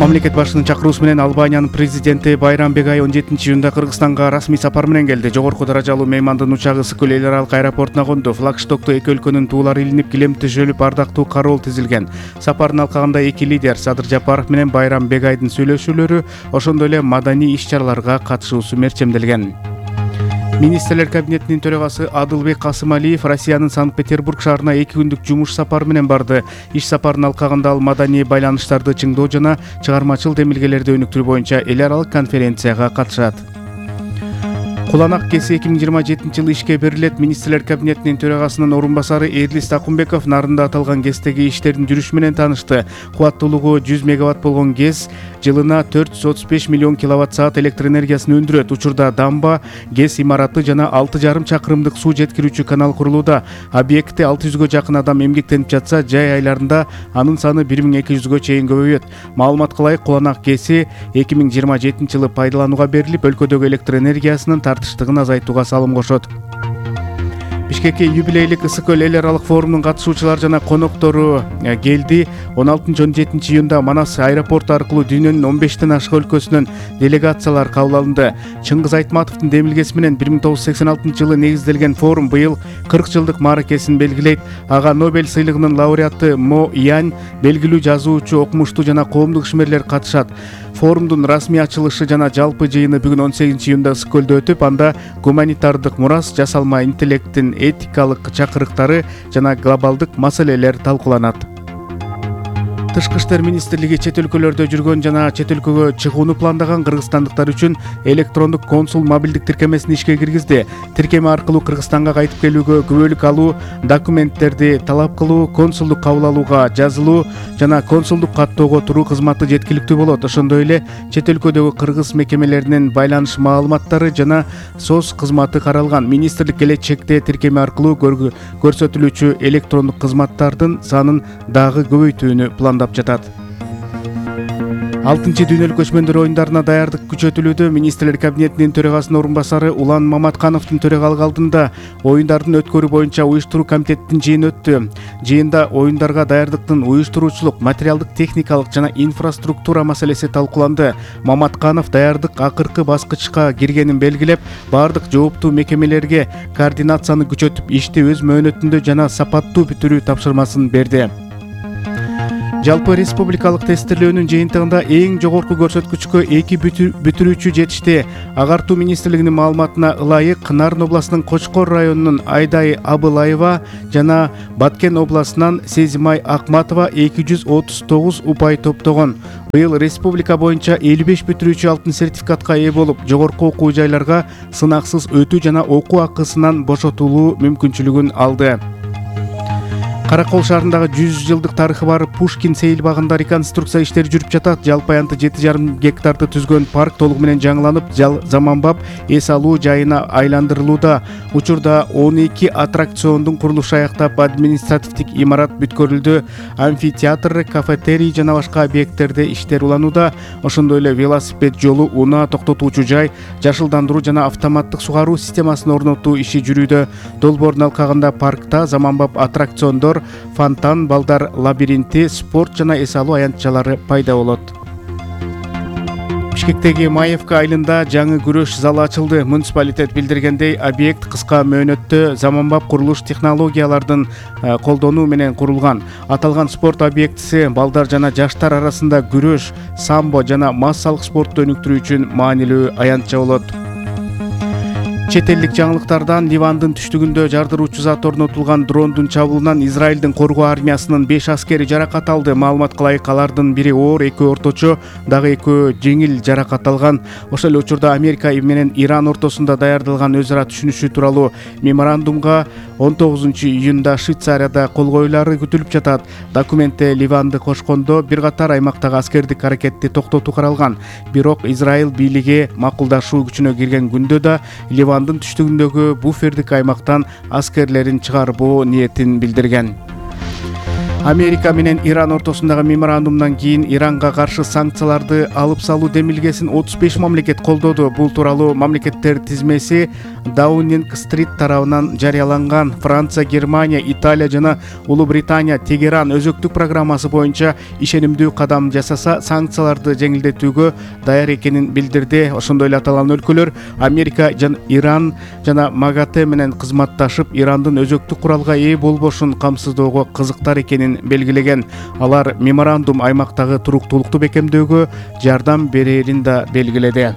Мамлекет башчынын чакыруусу менен Албаниянын президенти Байрам Бегай 17-июнда Кыргызстанга расмий сапар менен келди. Жогорку даражалуу меймандын учагы Ысык-Көл эл аралык аэропортуна конду. Флагштокто эки өлкөнүн туулары илинип, килем төшөлүп, ардактуу кароол тизилген. Сапардын алкагында эки лидер Садыр Жапаров менен Байрам Бегайдын сүйлөшүүлөрү, ошондой эле маданий иш-чараларга катышуусу мерчемделген. Министрлер кабинетинин төрагасы Адылбек Касымалиев Россиянын Санкт-Петербург шаарына 2 күндүк жумуш сапары менен барды. Иш сапарынын алкагында ал маданий байланыштарды чыңдоо жана чыгармачыл демилгелерди өнүктүрүү боюнча эл аралык конференцияга катышат. Куланак КЭСи 2027 ишке берилет. Министрлер кабинетинин төрагасынын орун басары Эрлис Такумбеков нарында аталган КЭСтеги иштердин жүрүшү менен таанышты. Кубаттуулугу 100 мегаватт болгон КЭС жылына 435 миллион киловатт-саат электр энергиясын өндүрөт. Учурда дамба, КЭС имараты жана 6,5 чакырымдык суу жеткирүүчү канал курулууда. Объектте 600гө жакын адам эмгектенип жатса, жай айларында анын саны 1200гө чейин көбөйөт. Маалымат кылайык, Куланак КЭСи 2027 жылы пайдаланууга берилип, өлкөдөгү электр энергиясынын тартыштыгын азайтууга салым кошот. Бишкекке юбилейлик Ысык-Көл эл аралык форумунун катышуучулары жана коноктору келди. 16-17 июнда Манас аэропорту аркылуу дүйнөнүн 15тен ашык өлкөсүнөн делегациялар кабыл алынды. Чыңгыз Айтматовдун демилгеси менен 1986 жылы негизделген форум быйыл 40 жылдык мааракесин белгилейт. Ага Нобель сыйлыгынын лауреаты Мо Янь, белгилүү жазуучу, окумуштуу жана коомдук ишмерлер катышат. Форумдун расмий ачылышы жана жалпы жыйыны бүгүн 18 июнда Ысык-Көлдө өтүп, анда гуманитардык мурас, жасалма интеллекттин этикалык чакырыктары жана глобалдык маселелер талкууланат. Тышкы иштер министрлиги чет өлкөлөрдө жүргөн жана чет өлкөгө чыгууну пландаган кыргызстандыктар үчүн электрондук консул мобилдик тиркемесин ишке киргизди. Тиркеме аркылуу Кыргызстанга кайтып келүүгө күбөлүк алуу, документтерди талап кылуу, консулдук кабыл алууга жазылуу жана консулдук каттоого туруу кызматы жеткиликтүү болот. Ошондой эле чет өлкөдөгү кыргыз мекемелеринин байланыш маалыматтары жана СОС кызматы каралган. Министрлик келечекте тиркеме аркылуу көрсөтүлүүчү электрондук кызматтардын санын дагы көбөйтүүнү пландап жатат. 6-чы дүйнөлүк көчмөндөр оюндарына даярдык күчөтүлүүдө. Министрлер кабинетинин төрагасынын орун басары Улан Маматкановдун төрагалык алдында оюндардын өткөрүү боюнча уюштуруу комитетинин жыйыны өттү. Жыйында оюндарга даярдыктын уюштуруучулук, материалдык, техникалык жана инфраструктура маселеси талкууланды. Маматканов даярдык акыркы баскычка киргенин белгилеп, бардык жооптуу мекемелерге координацияны күчөтүп, ишти өз мөөнөтүндө жана сапаттуу бүтүрүү тапшырмасын берди. Жалпы республикалык тестирлөөнүн жыйынтыгында эң жогорку көрсөткүчкө 2 бүтүрүүчү жетишти. Агартуу министрлигинин маалыматына ылайык, Нарын областынын Кочкор районунун Айдай Абылаева жана Баткен областынан Сезимай Акматова 239 упай топтогон. Быйыл республика боюнча 55 бүтүрүүчү алтын сертификатка ээ болуп, жогорку окуу жайларга сынаксыз өтүү жана окуу акысынан бошотулуу мүмкүнчүлүгүн алды. Каракол шаарындагы 100 жылдык тарыхы бар Пушкин сейил багында реконструкция иштери жүрүп жатат. Жалпы аянты 7,5 гектарды түзгөн парк толугу менен жаңыланып, заманбап эс алуу жайына айландырылууда. Учурда 12 аттракциондун курулушу аяктап, административдик имарат бүткөрүлдү. Амфитеатр, кафетерий жана башка объекттерде иштер уланууда. Ошондой эле велосипед жолу, унаа токтотуучу жай, жашылдандыруу жана автоматтык сугаруу системасын орнотуу иши жүрүүдө. Долбоордун алкагында паркта заманбап аттракциондор, фонтан, балдар лабиринти, спорт жана эс алуу аянтчалары пайда болот. Бишкектеги Маевка айылында жаңы күрөш залы ачылды. Муниципалитет билдиргендей, объект кыска мөөнөттө заманбап курулуш технологиялардын колдонуу менен курулган. Аталган спорт объектиси балдар жана жаштар арасында күрөш, самбо жана массалык спортту өнүктүрүү үчүн маанилүү аянтча болот. Чет элдик жаңылыктардан Ливандын түштүгүндө жардыруучу зат орнотулган дрондун чабуулунан Израилдин коргоо армиясынын 5 аскери жаракат алды. Маалымат кылайык, алардын бири оор, экөө орточо, дагы экөө жеңил жаракат алган. Ошол эле учурда Америка менен Иран ортосунда даярдалган өз ара түшүнүшү тууралуу меморандумга 19 июнда Швейцарияда кол коюлары күтүлүп жатат. Документте Ливанды кошкондо бир катар аймактагы аскердик аракетти токтотуу каралган. Бирок Израиль бийлиги макулдашуу күчүнө кирген күндө да Ливандын түштүгүндөгү буфердик аймактан аскерлерин чыгарбоо ниетин билдирген. Америка менен Иран ортосундагы меморандумдан кийин Иранга каршы санкцияларды алып салуу демилгесин 35 мамлекет колдоду. Бул тууралуу мамлекеттер тизмеси Даунинг Стрит тарабынан жарыяланган. Франция, Германия, Италия жана Улуу Британия Тегеран өзөктүк программасы боюнча ишенимдүү кадам жасаса, санкцияларды жеңилдетүүгө даяр экенин билдирди. Ошондой эле аталган өлкөлөр Америка жана Иран жана МАГАТЭ менен кызматташып, Ирандын өзөктүк куралга ээ болбошун камсыздоого кызыктар экенин белгилеген. Алар меморандум аймактагы туруктуулукту бекемдөөгө жардам берерин да белгиледи.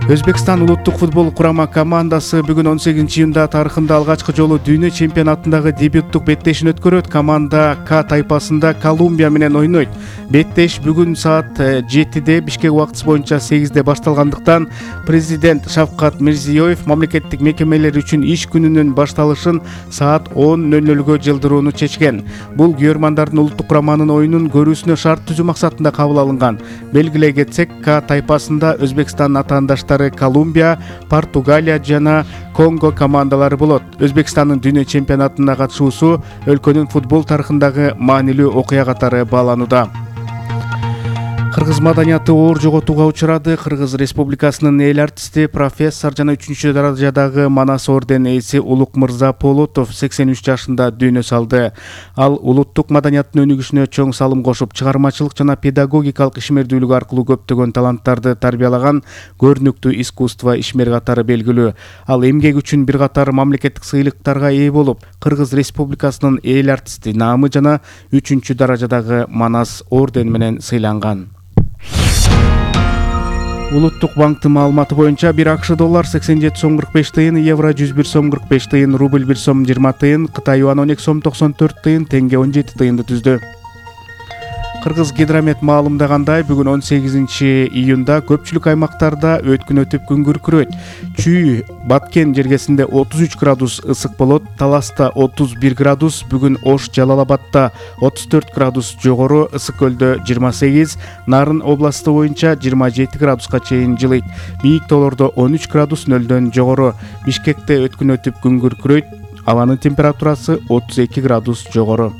Өзбекстан улуттук футбол курама командасы бүгүн 18-июнда тарыхында алгачкы жолу дүйнө чемпионатындагы дебюттук беттешин өткөрөт. Команда К тайпасында Колумбия менен ойнойт. Беттеш бүгүн саат 7-де Бишкек убактысы боюнча 8-де башталгандыктан президент Шавкат Мирзиёев мамлекеттик мекемелер үчүн иш күнүнүн башталышын саат 10:00 жылдырууну чечкен. Бул күйөрмандардын улуттук кураманын оюнун көрүүсүнө шарт түзүү максатында кабыл алынган. Белгилей кетсек, К тайпасында Өзбекстан атаандаштары Колумбия, Португалия жана Конго командалары болот. Өзбекстандын дүйнө чемпионатына катышуусу өлкөнүн футбол тарыхындагы маанилүү окуя катары бааланууда. Кыргыз маданияты оор жоготууга учурады. Кыргыз Республикасынын эл артисти, профессор жана 3-даражадагы Манас орден ээси Улук Мырза Полотов 83 жашында дүйнө салды. Ал улуттук маданияттын өнүгүшүнө чоң салым кошуп, чыгармачылык жана педагогикалык ишмердүүлүк аркылуу көптөгөн таланттарды тарбиялаган көрүнүктүү искусство ишмери катары белгилүү. Ал эмгек үчүн бир катар мамлекеттик сыйлыктарга ээ болуп, Кыргыз Республикасынын эл артисти наамы жана 3-даражадагы Манас орден менен сыйланган. Улуттук банктын маалыматы боюнча 1 АКШ доллар 87 сом 45 тыйын, евро 101 сом 45 тыйын, рубль 1 сом 20 тыйын, Кытай юан 12 сом 94 тыйын, тенге 17 тыйынды түздү. Кыргыз гидромет маалымдагандай, бүгүн 18-июнда көпчүлүк аймактарда өткүн өтүп күн күркүрөйт. Чүй, Баткен жергесинде 33 градус ысык болот, Таласта 31 градус, бүгүн Ош, Жалалабадта 34 градус жогору, Ысык көлдө 28, Нарын областы боюнча 27 градуска чейин жылыйт. Бийик тоолордо 13 градус нөлдөн жогору. Бишкекте өткүн өтүп күн күркүрөйт, абанын температурасы 32 градус жогору.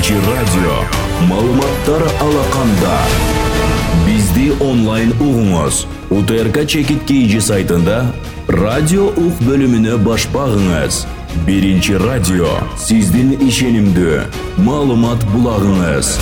Радио маалыматтар алаканда. Бизди онлайн угуңуз. УТРК Чекит KG сайтында радио ук бөлүмүнө баш багыңыз. Биринчи радио сиздин ишенимдүү маалымат булагыңыз.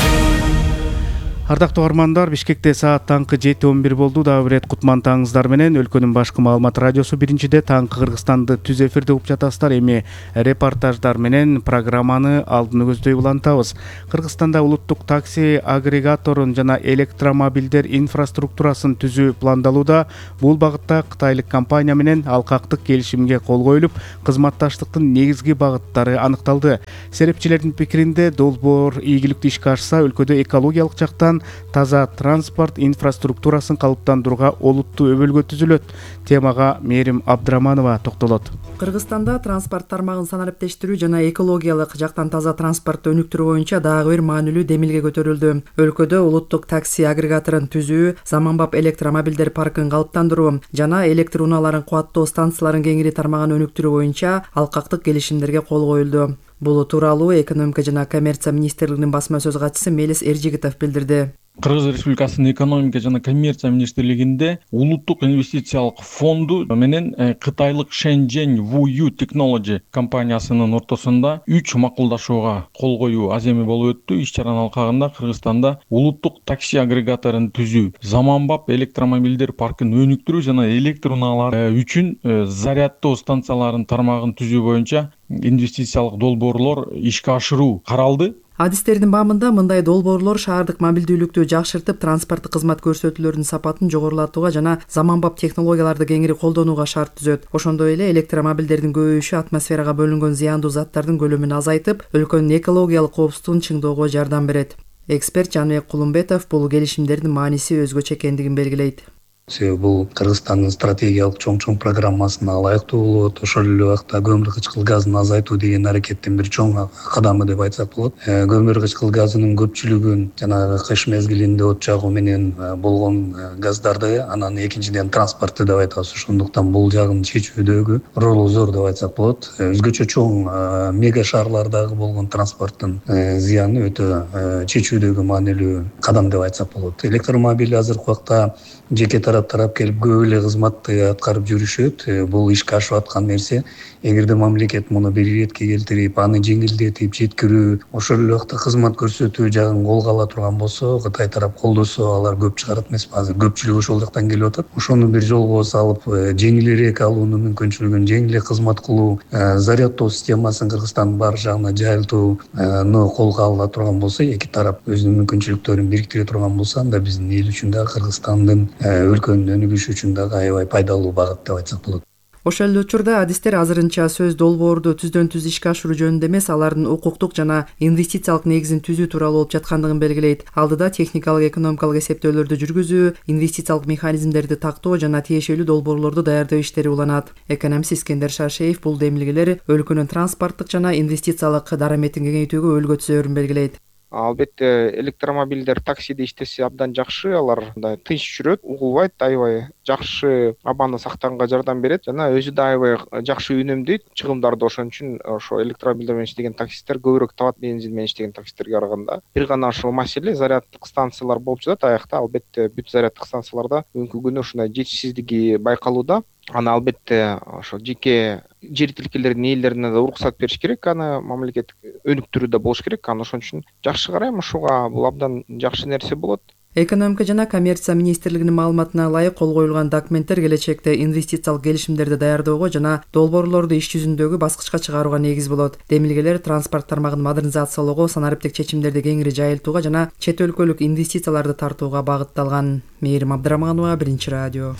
Ардактуу угармандар, Бишкекте саат таңкы 7:11 болду. Дагы бир рет кутман таңыңыздар менен өлкөнүн башкы маалымат радиосу биринчиде таңкы Кыргызстанды түз эфирде угуп жатасыздар. Эми репортаждар менен программаны алдын көздөй улантабыз. Кыргызстанда улуттук такси агрегаторун жана электромобилдер инфраструктурасын түзүү пландалууда. Бул багытта кытайлык компания менен алкактык келишимге кол коюлуп, кызматташтыктын негизги багыттары аныкталды. Серепчилердин пикиринде, долбоор ийгиликтүү ишке ашса, өлкөдө экологиялык жактан таза транспорт инфраструктурасын калыптандырууга олуттуу өбөлгө түзүлөт. Темага Мээрим Абдыраманова токтолот. Кыргызстанда транспорт тармагын санариптештирүү жана экологиялык жактан таза транспортты өнүктүрүү боюнча дагы бир маанилүү демилге көтөрүлдү. Өлкөдө улуттук такси агрегаторун түзүү, заманбап электромобилдер паркын калыптандыруу жана электр унааларын кубаттоо станцияларын кеңири тармагын өнүктүрүү боюнча алкактык келишимдерге кол коюлду. Бул тууралуу экономика жана коммерция министрлигинин басма сөз катчысы Мелис Эржигитов билдирди. Кыргыз Республикасынын экономика жана коммерция министрлигинде улуттук инвестициялык фонду менен кытайлык Shenzhen Wuyu Technology компаниясынын ортосунда 3 макулдашууга кол коюу аземи болуп өттү. Иш-чаранын алкагында Кыргызстанда улуттук такси агрегаторун түзүү, заманбап электромобилдер паркын өнүктүрүү жана электр унаалар үчүн заряддоо станцияларынын тармагын түзүү боюнча инвестициялык долбоорлор ишке ашыруу каралды. Адистердин баамында мындай долбоорлор шаардык мобилдүүлүктү жакшыртып, транспорттук кызмат көрсөтүүлөрүнүн сапатын жогорулатууга жана заманбап технологияларды кеңири колдонууга шарт түзөт. Ошондой эле электромобилдердин көбөйүшү атмосферага бөлүнгөн зыяндуу заттардын көлөмүн азайтып, өлкөнүн экологиялык коопсуздугун чыңдоого жардам берет. Эксперт Жаныбек Кулумбетов бул келишимдердин мааниси өзгөчө экендигин белгилейт. Себеби бул Кыргызстандын стратегиялык чоң программасына ылайыктуу болот. Ошол эле убакта көмүр кычкыл газын азайтуу деген аракеттин бир чоң кадамы деп айтсак болот. Көмүр кычкыл газынын көпчүлүгүн жанагы кыш мезгилинде от жагуу менен болгон газдарды, анан экинчиден транспортты деп айтабыз. Ошондуктан бул жагын чечүүдөгү ролу зор деп айтсак болот. Өзгөчө чоң мега шаарлардагы болгон транспорттун зыяны өтө чечүүдөгү маанилүү кадам деп айтсак болот. Электромобиль азыркы убакта жеке тарап келип көп эле кызматты аткарып жүрүшөт. Бул ишке ашып аткан нерсе. Эгерде мамлекет муну бир иретке келтирип, аны жеңилдетип жеткирүү, ошол эле убакта кызмат көрсөтүү жагын колго ала турган болсо, Кытай тарап колдосо, алар көп чыгарат эмеспи? Азыр көпчүлүк ошол жактан келип атат. Ошону бир жолго салып, жеңилирээк алуунун мүмкүнчүлүгүн, жеңилирээк кызмат кылуу, заряддоо системасын Кыргызстандын бар жагына жайылтууну колго ала турган болсо, эки тарап өзүнүн мүмкүнчүлүктөрүн бириктире турган болсо, анда биздин эл үчүн да, Кыргызстандын өлкөнүн өнүгүшү үчүн дагы аябай пайдалуу багыт деп айтсак болот. Ошол эле учурда адистер азырынча сөз долбоорду түздөн түз ишке ашыруу жөнүндө эмес, алардын укуктук жана инвестициялык негизин түзүү тууралуу болуп жаткандыгын белгилейт. Алдыда техникалык экономикалык эсептөөлөрдү жүргүзүү, инвестициялык механизмдерди тактоо жана тиешелүү долбоорлорду даярдоо иштери уланат. Экономист Искендер Шашеев бул демилгелер өлкөнүн транспорттук жана инвестициялык дараметин кеңейтүүгө өлгө түсөөрүн белгилейт. Албетте электромобилдер таксиде иштесе абдан жакшы, алар мындай тынч жүрөт, угулбайт, аябай жакшы абаны сактаганга жардам берет жана өзү да аябай жакшы үнөмдөйт чыгымдарды. Ошон үчүн ошо электромобилдер менен иштеген таксисттер көбүрөөк табат бензин менен иштеген таксисттерге караганда. Бир гана ошол маселе заряддык станциялар болуп жатат. Аякта албетте бүт заряддык станцияларда бүгүнкү күнү ушундай жетишсиздиги байкалууда. Аны албетте ошо жеке жер тилкелердин ээлерине да уруксат бериш керек, аны мамлекеттик өнүктүрүүдө болуш керек. Аны ошон үчүн жакшы карайм ушуга, бул абдан жакшы нерсе болот. Экономика жана коммерция министрлигинин маалыматына ылайык кол коюлган документтер келечекте инвестициялык келишимдерди даярдоого жана долбоорлорду иш жүзүндөгү баскычка чыгарууга негиз болот. Демилгелер транспорт тармагын модернизациялоого, санариптик чечимдерди кеңири жайылтууга жана чет өлкөлүк инвестицияларды тартууга багытталган. Мээрим Абдыраманова, Биринчи радио.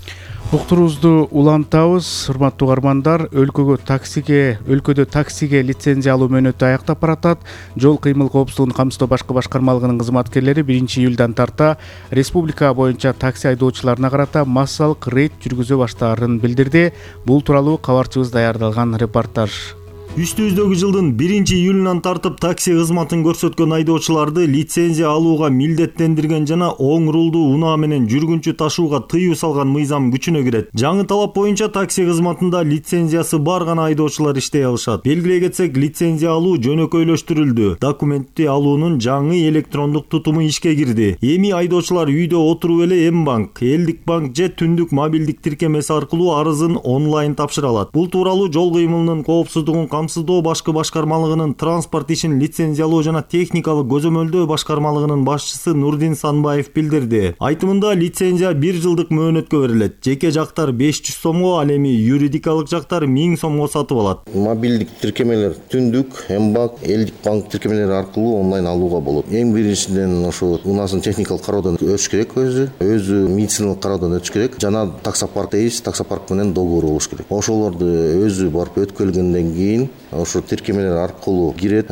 Уктуруубузду улантабыз. Урматтуу угармандар, өлкөдө таксиге лицензия алуу мөөнөтү аяктап баратат. Жол кыймыл коопсуздугун камсыздоо башкы башкармалыгынын кызматкерлери 1-июлдан тарта республика боюнча такси айдоочуларына карата массалык рейд жүргүзө баштаарын билдирди. Бул тууралуу кабарчыбыз даярдалган репортаж. Үстүбүздөгү жылдын 1-июлунан тартып такси кызматын көрсөткөн айдоочуларды лицензия алууга милдеттендирген жана оң рулдуу унаа менен жүргүнчү ташууга тыюу салган мыйзам күчүнө кирет. Жаңы талап боюнча такси кызматында лицензиясы бар гана айдоочулар иштей алышат. Белгилей кетсек, лицензия алуу жөнөкөйлөштүрүлдү. Документти алуунун жаңы электрондук тутуму ишке кирди. Эми айдоочулар үйдө отуруп эле М-банк, Элдик банк же түндүк мобилдик тиркемеси аркылуу арызын онлайн тапшыра алат. Бул тууралуу жол кыймылынын коопсуздугун камсыздоо башкы башкармалыгынын транспорт ишин лицензиялоо жана техникалык көзөмөлдөө башкармалыгынын башчысы Нурдин Санбаев билдирди. Айтымында лицензия 1 жылдык мөөнөткө берилет. Жеке жактар 500 сомго, ал эми юридикалык жактар 1000 сомго сатып алат. Мобилдик тиркемелер түндүк, М-банк, Элдик банк тиркемелери аркылуу онлайн алууга болот. Эң биринчиден ошо унаасын техникалык кароодон өтүш керек, өзү медициналык кароодон өтүш керек жана таксопарк менен долбоору болуш керек. Ошолорду өзү барып өткөргөндөн кийин ошо тиркемелер аркылуу кирет.